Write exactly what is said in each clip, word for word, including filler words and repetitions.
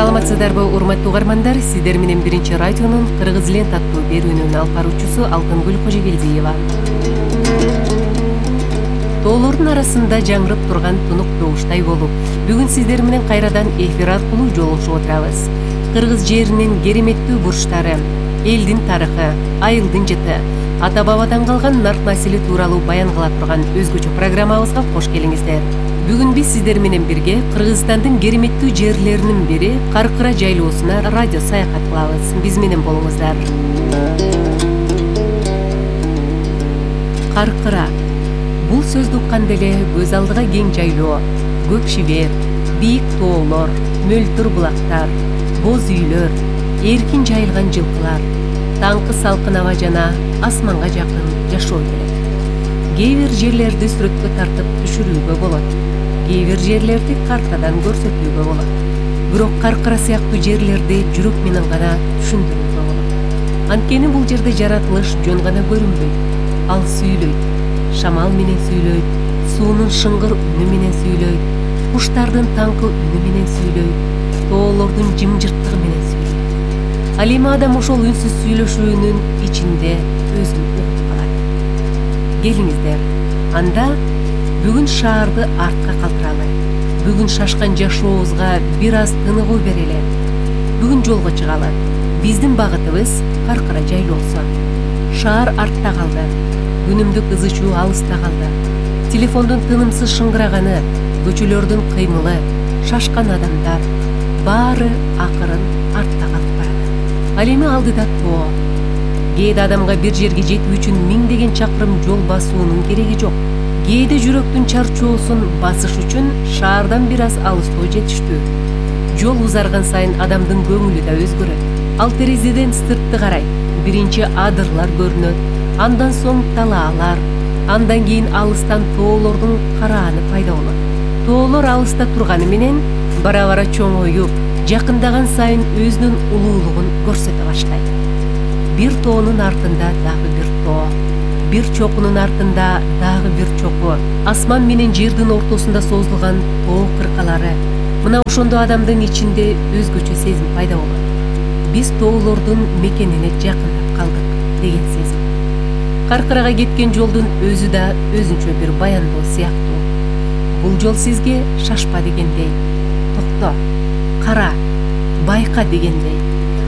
Саламатсыздарбы, урматтуу угармандар? Сиздер менен биринчи радионун Кыргыз лент аттуу берүүнүн алып баруучусу Алтынгүл Кожогелдиева. Тоолордун арасында жаңырып турган тунук добуштай болуп, бүгүн сиздер менен кайрадан эфир аркылуу жолугушуп отурабыз. Кыргыз жеринин кереметтүү бурчтары, элдин тарыхы, айылдын жыты, ата-бабадан калган нарк насили тууралуу баян кыла турган өзгөчө программабызга кош келиңиздер. Бүгүн биз сиздер менен бирге Кыргызстандын кереметтүү жерлеринин бири Каркыра жайлоосуна радио саякат кылабыз. Биз менен болуңуздар. Каркыра. Бул сөздү укканда эле көз алдыга кең жайлоо, көк шибер, бийик тоолор, мөлтүр булактар, боз үйлөр, эркин жайылган жылкылар, таңкы салкын аба жана асманга жакын жашоо келет. Кээ бир жерлерди сүрөткө тартып түшүрүүгө болот. Кээ бир жерлерди картадан көрсөтүүгө болот. Бирок Каркыра сыяктуу жерлерди жүрөк менен гана түшүндүрүүгө болот. Анткени бул жерде жаратылыш жөн гана көрүнбөйт, ал сүйлөйт. Шамал менен сүйлөйт, суунун шыңгыр үнү менен сүйлөйт, куштардын таңкы үнү менен сүйлөйт, тоолордун жымжырттыгы менен сүйлөйт. Ал эми адам ошол үнсүз сүйлөшүүнүн ичинде өзүн угуп калат. Келиңиздер, анда бүгүн шаарды артка калтыралы. Бүгүн шашкан жашообузга бир аз тыныгуу берели. Бүгүн жолго чыгалы. Биздин багытыбыз Каркыра жайлоосу. Шаар артта калды. Күнүмдүк ызы чуу алыста калды. Телефондун тынымсыз шыңгыраганы, көчөлөрдүн кыймылы, шашкан адамдар баары акырын артта калып барат. Ал эми алдыда тоо. Кээде адамга бир жерге жетүү үчүн миңдеген чакырым жол басуунун кереги жок. Кээде жүрөктүн чарчоосун басыш үчүн шаардан бир аз алыстоо жетиштүү. Жол узарган сайын адамдын көңүлү да өзгөрөт. Ал терезеден сыртты карайт. Биринчи адырлар көрүнөт, андан соң талаалар, андан кийин алыстан тоолордун карааны пайда болот. Тоолор алыста турганы менен бара-бара чоңоюп, жакындаган сайын өзүнүн улуулугун көрсөтө баштайт. Бир тоонун артында дагы бир тоо, бир чокунун артында дагы бир чоку, асман менен жердин ортосунда созулган тоо кыркалары. Мына ошондо адамдын ичинде өзгөчө сезим пайда болот. Биз тоолордун мекенине жакындап калдык деген сезим. Каркырага кеткен жолдун өзү да өзүнчө бир баяндоо сыяктуу. Бул жол сизге шашпа дегендей, токто, кара, байка дегендей.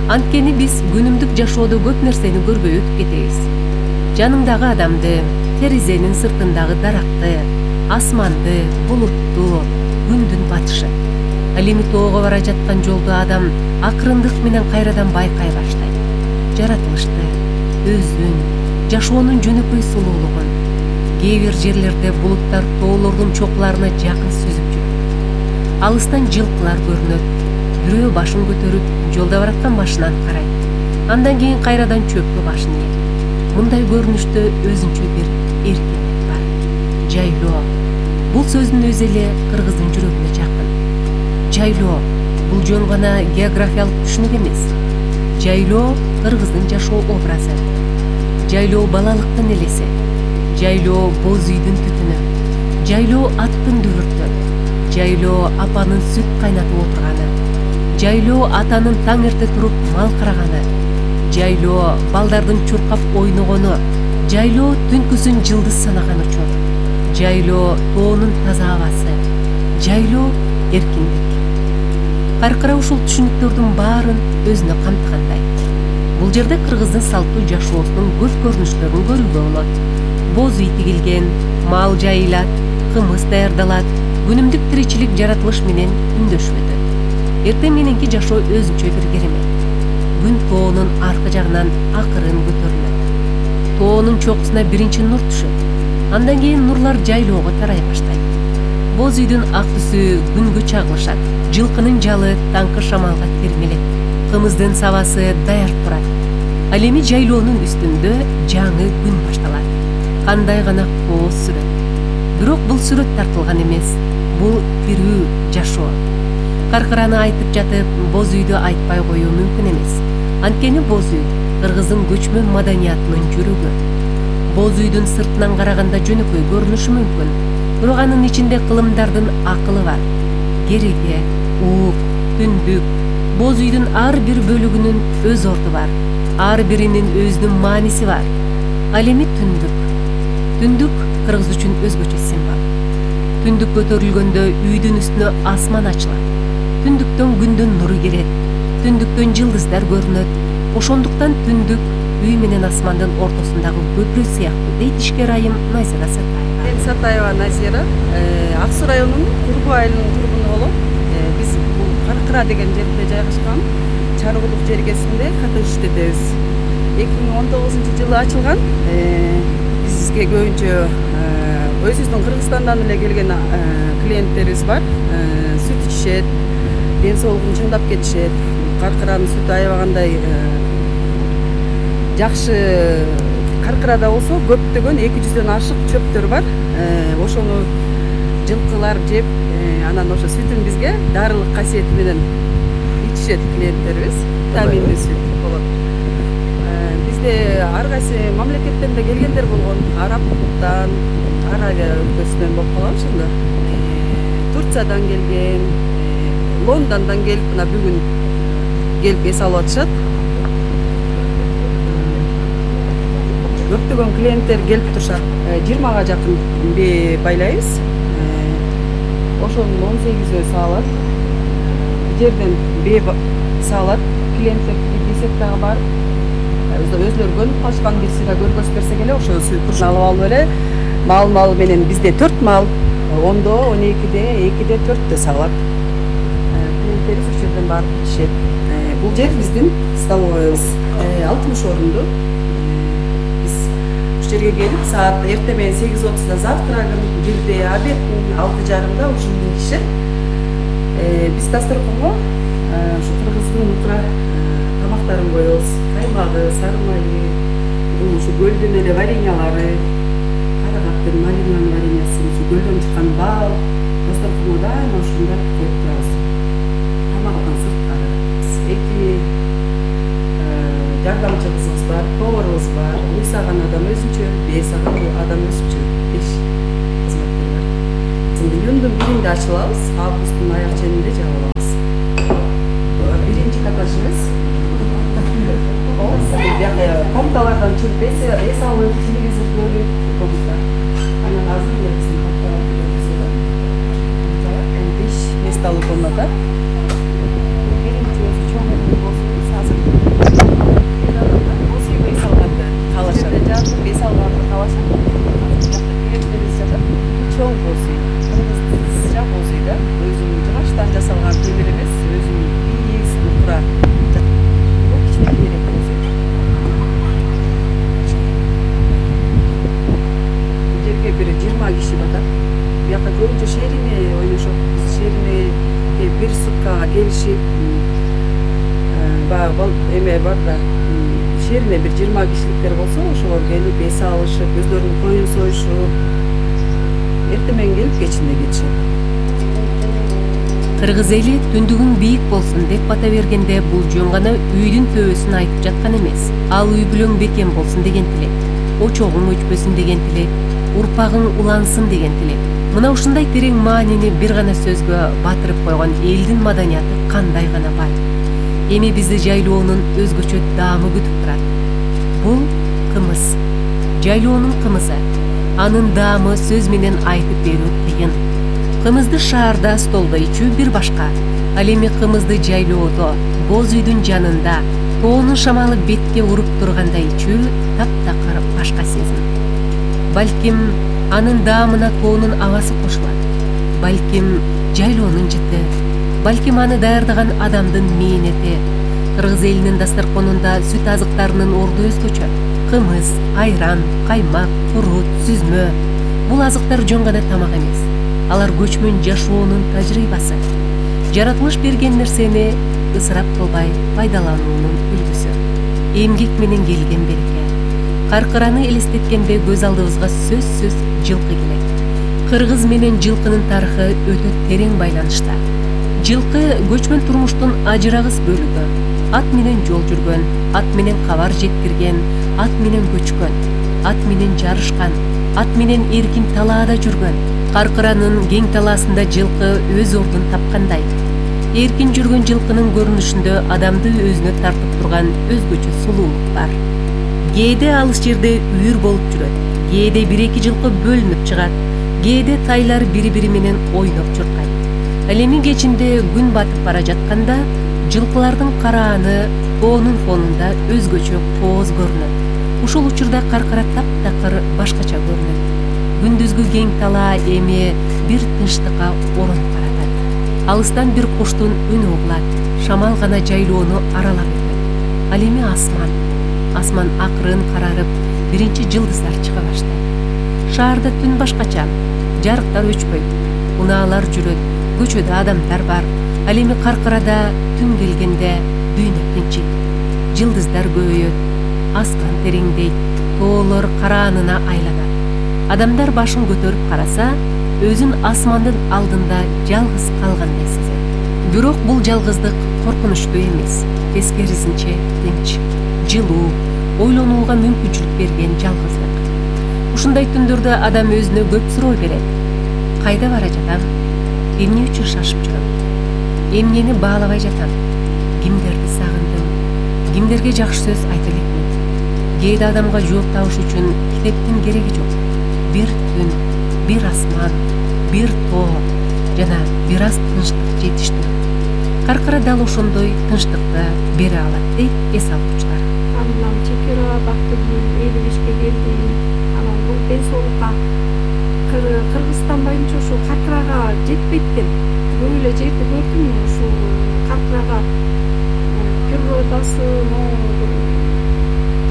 Анткени биз күнүмдүк жашоодо көп нерсени көрбөй өтүп кетебиз. Жаныңдагы адамды, терезенин сыртындагы даракты, асманды, булутту, күндүн батышы. Ал эми тоого бара жаткан жолду адам акырындык менен кайрадан байкай баштайт. Жаратылышты, өзүн, жашоонун жөнөкөй сулуулугун. Кээ бир жерлерде булуттар тоолордун чокуларына жакын сүзүп жүрөт. Алыстан жылкылар көрүнөт. Бирөө башын көтөрүп, жолдо бараткан машинаны карайт. Андан кийин кайрадан чөпкө башын ийет. Мындай көрүнүштө өзүнчө бир эркиндик бар. Жайлоо. Бул сөздүн өзү эле кыргыздын жүрөгүнө жакын. Жайлоо бул жөн гана географиялык түшүнүк эмес. Жайлоо кыргыздын жашоо образы. Жайлоо балалыктын элеси. Жайлоо боз үйдүн түтүнү. Жайлоо аттын дүбүртү. Жайлоо апанын сүт кайнатып отурганы. Жайлоо атанын таң эрте туруп мал караганы. Жайлоо балдардын чуркап ойногону. Жайлоо түнкүсүн жылдыз санаган учур. Жайлоо тоонун таза абасы. Жайлоо эркиндик. Каркыра ушул түшүнүктөрдүн баарын өзүнө камтыгандай. Бул жерде кыргыздын салттуу жашоосунун көп көрүнүштөрүн көрүүгө болот. Боз үй тигилген, мал жайылат, кымыз даярдалат, күнүмдүк тиричилик жаратылыш менен үндөшүп өтөт. Эртең мененки жашоо өзүнчө бир керемет. Күн тоонун аркы жагынан акырын көтөрүлөт. Тоонун чокусуна биринчи нур түшөт. Андан кийин нурлар жайлоого тарай баштайт. Боз үйдүн ак түсү күнгө чагылышат. Жылкынын жалы таңкы шамалга термелет. Кымыздын сабасы даяр турат. Ал эми жайлоонун үстүндө жаңы күн башталат. Кандай гана кооз сүрөт. Бирок бул сүрөт тартылган эмес. Бул тирүү жашоо. Каркыраны айтып жатып, боз үйдү айтпай коюу мүмкүн эмес. Анткени боз үй кыргыздын көчмөн маданиятынын жүрөгү. Боз үйдүн сыртынан караганда жөнөкөй көрүнүшү мүмкүн. Бирок анын ичинде кылымдардын акылы бар. Кереге, уук, түндүк, Боз үйдүн ар бир бөлүгүнүн өз орду бар, ар биринин өзүнүн мааниси бар. Ал эми түндүк. Түндүк кыргыз үчүн өзгөчө символ. Түндүк көтөрүлгөндө үйдүн үстүнө асман ачылат. Түндүктөн күндүн нуру кирет. Түндүктөн жылдыздар көрүнөт. Ошондуктан түндүк үй менен асмандын ортосундагы көпүрө сыяктуу, дейт ишкер айым Найзира Сатаева. Мен Сатаева Назира, Ак Суу районунун Кургу айылынын тургуну болуп, биз бул Каркыра деген жерде жайгашкан чаргылык жергесинде ката иштетебиз. эки миң он тогузунчу жылы ачылган. Бизге көбүнчө өзүбүздүн Кыргызстандан эле келген клиенттерибиз бар. Сүт ичишет, ден соолугун чыңдап кетишет. Каркыранын сүтү аябагандай жакшы. Каркырада болсо көптөгөн эки жүздөн ашык чөптөр бар. Ошону жылкылар жеп, анан ошо сүтүн бизге дарылык касиети менен ичишет клиенттерибиз. Витаминдүү сүт болот. Бизде ар кайсы мамлекеттен да келгендер болгон. Арабтан, Аравия өлкөсүнөн болуп калган ошондо. Турциядан келген, Лондондон келип, мына бүгүн келип эс алып атышат. Көптөгөн клиенттер келип турушат. жыйырмага жакын бээ байлайбыз. Ошонун он сегизөө саалат. Жерден бээ саалат. Клиенттер десек дагы бар. Өзлөрү көнүп калышкан бирси да көргөзүп берсек эле ошо сүтүн алып алып эле мал-мал менен бизде төрт мал, ондо, он экиде, экиде, төрттө саалат. Клиенттерибиз ошол жерден барып ичишет. Бул жер биздин столовойбуз. алтымыш орунду. Жерге келип, саат эрте менен сегиз отузда завтрагын, бирде обедин, алты жарымда ушуну ичишет. Биз дасторконго ушу кыргыздын утура тамактарын коебуз. Каймагы, сары майы, ушу көлдүн эле вареньялары, карагаттын, малинанын вареньясы, ушу көлдөн чыккан бал, дасторконго дайыма ушундай коюп турабыз. Тамагынан сырткары эки жардамчы кызыбыз бар, поварыбыз бар. Уй саган адам өзүнчө, бээ саган адам өзүнчө беш кызматкер бар. Июндун биринде ачылабыз, августтун аяк ченинде жабылабыз. Биринчи каташыбыз. Комнаталардан чыгып эс алып, телевизор көрүп, комната. Анан азыр элесин комнаталарды көрүп, беш месталуу комната. Биринчи өзү чоң болсун, азыр бес алганды каалашат. Клиенттерибиз жатат. Чоң боз үй. Сыжак боз үйдө өзүнүн жыгачтан жасалган темир эмес, өзүнүн бийик утура. Бул кичинекейирээк боз үй. Бул жерге бир жыйырма киши батат. Бияка көбүнчө шерине ойношот. Шерине бир суткага келишип, баягы эме бар да. Шерине бир жыйырма кишиликтер болсо, ошолор келип эс алышып, өзлөрүнүн коюн союшуп, эрте менен келип кечинде кетишет. Кыргыз эли түндүгүң бийик болсун деп бата бергенде бул жөн гана үйдүн төбөсүн айтып жаткан эмес. Ал үй бүлөң бекем болсун деген тилек, очогуң өчпөсүн деген тилек, урпагың улансын деген тилек. Мына ушундай терең маанини бир гана сөзгө батырып койгон элдин маданияты кандай гана бай. Эми бизди жайлоонун өзгөчө даамы күтүп турат. Бул кымыз. Жайлоонун кымызы. Анын даамы сөз менен айтып берүү кыйын. Кымызды шаарда столдо ичүү бир башка. Ал эми кымызды жайлоодо, боз үйдүн жанында, тоонун шамалы бетке уруп турганда ичүү таптакыр башка сезим. Балким анын даамына тоонун абасы кошулат. Балким жайлоонун жыты. Балким аны даярдаган адамдын мээнети. Кыргыз элинин дасторконунда сүт азыктарынын орду өзгөчө. Кымыз, айран, каймак, курут, сүзмө. Бул азыктар жөн гана тамак эмес. Алар көчмөн жашоонун тажрыйбасы. Жаратылыш берген нерсени ысырап кылбай пайдалануунун үлгүсү. Эмгек менен келген береке. Каркыраны элестеткенде көз алдыбызга сөзсүз жылкы келет. Кыргыз менен жылкынын тарыхы өтө терең байланышта. Жылкы көчмөн турмуштун ажырагыс бөлүгү. Ат менен жол жүргөн, ат менен кабар жеткирген, ат менен көчкөн, ат менен жарышкан, ат менен эркин талаада жүргөн. Каркыранын кең талаасында жылкы өз ордун тапкандай. Эркин жүргөн жылкынын көрүнүшүндө адамды өзүнө тартып турган өзгөчө сулуулук бар. Кээде алыс жерде үйүр болуп жүрөт, кээде бир эки жылкы бөлүнүп чыгат, кээде тайлар бири-бири менен ойноп чуркайт. Ал эми кечинде күн батып бара жатканда жылкылардын карааны тоонун фонунда өзгөчө кооз көрүнөт. Ушул учурда каркара таптакыр башкача көрүнөт. Күндүзгү кең талаа эми бир тынчтыкка орон каратат. Алыстан бир куштун үнү угулат, шамал гана жайлоону аралап өтөт. Ал эми асман. Асман акырын карарып, биринчи жылдыздар чыга баштайт. Шаарда түн башкача, жарыктар өчпөйт, унаалар жүрөт, көчөдө адамдар бар. Ал эми каркарада түн келгенде дүйнө тынчыйт. Жылдыздар көбөйөт, аскан тереңдейт, тоолор караанына айланат. Адамдар башын көтөрүп караса, өзүн асмандын алдында жалгыз калгандай сезет. Бирок бул жалгыздык коркунучтуу эмес, тескерисинче тынч, жылуу, ойлонууга мүмкүнчүлүк берген жалгыздык. Ушундай түндөрдө адам өзүнө көп суроо берет. Кайда бара жатам? Эмне үчүн шашып жүрөм? Эмнени баалабай жатам? Кимдерди сагындым? Кимдерге жакшы сөз айта элекмин? Кээде адамга жооп табыш үчүн китептин кереги жок. Бир түн, бир асман, бир тоо жана бир аз тынчтык жетиштүү. Каркара дал ошондой тынчтыкты бере алат дейт эс алуучулар. Андан чекера бактыгүл элүү бешке келдим. Анан бул ден соолукка Кыргызстан боюнча ушул каркырага жетпейт экен. Көп эле жерди көрдүм ушул каркырага природасы,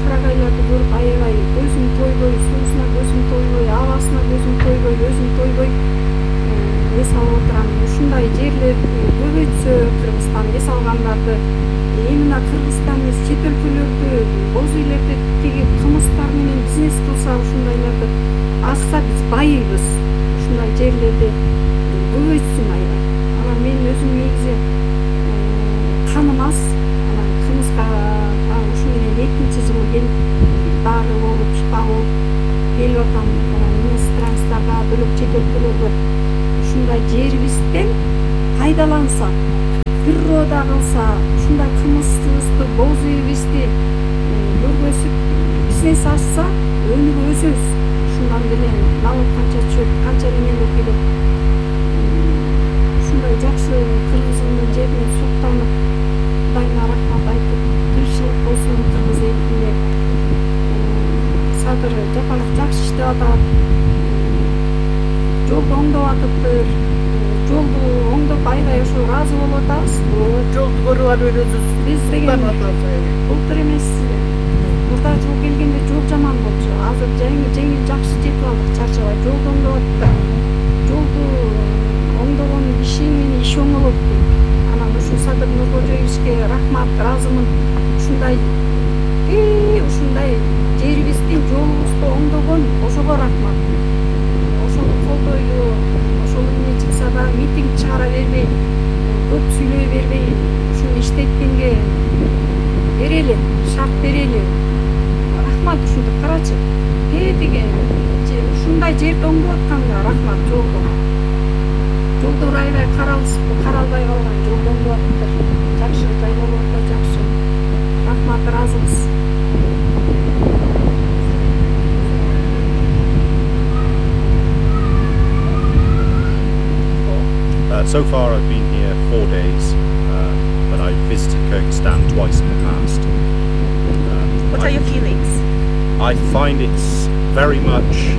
карагайларды көрүп аябай көзүм тойбой, суусуна көзүм тойбой, абасына көзүм тойбой, өзүм тойбой эс алып отурам. Ушундай жерлер көбөйтсө Кыргызстан эс алгандарды, эмне Кыргызстан эмес чет өлкөлөрдү, боз үйлөрдү тиги кымыздар менен бизнес кылса, ушундайларды азса биз байыбыз. Ушундай жерлерди көбөйтсүн аябай. Анан мен өзүм негизи каным аз, анан кымызга ушу менен экинчи жыл келип дары болуп, шифа болуп келип атам. Анан иностранецтерге, бөлөк чет өлкөлөргө ушундай жерибизден пайдаланса, природа кылса, ушундай кымызыбызды, боз үйүбүздү көргөзүп, бизнес ачса, өнүгүп өсөбүз. Ушундан деле налог канча чөп, канча немелер келет. Ушундай жакшы Кыргызымдын жерине суктанып, Кудайына рахмат айтып, тынччылык болсун Кыргыз элине. Садыр Жапаров жакшы иштеп атат. Жолду оңдоп атыптыр. Жолду оңдоп аябай ошо ыраазы болуп атабыз. Жолду көрүп алып өзүбүз Биз деген былтыр эмес, мурда жол келгенде жол жаман болчу. Азыр жеңил жеңил жакшы жетип алдык, чарчабай. Жолду оңдоп атыптыр. Жолду оңдогон киши менен иш оңолот дейт. Анан ушу Садыр Нуркожоевичке рахмат, ыраазымын. Ушундай ушундай жерибиздин жолубузду оңдогон, ошого рахмат. Ошону колдойлу, ошол эмне чыкса да митинг чыгара бербей, көп сүйлөй бербей, ушуну иштеткенге берели, шарт берели. Рахмат, ушинтип карачы. Тетиги ушундай жерди оңдоп атканга рахмат, жолду. Жолдор аябай каралбай калган, жолду оңдоп атыптыр. Жакшы жайлап атат, жакшы. Рахмат, ыраазыбыз. Uh, so far I've been here four days, uh, but I've visited Kyrgyzstan twice in the past. Um, What I, are your feelings? I find it's very much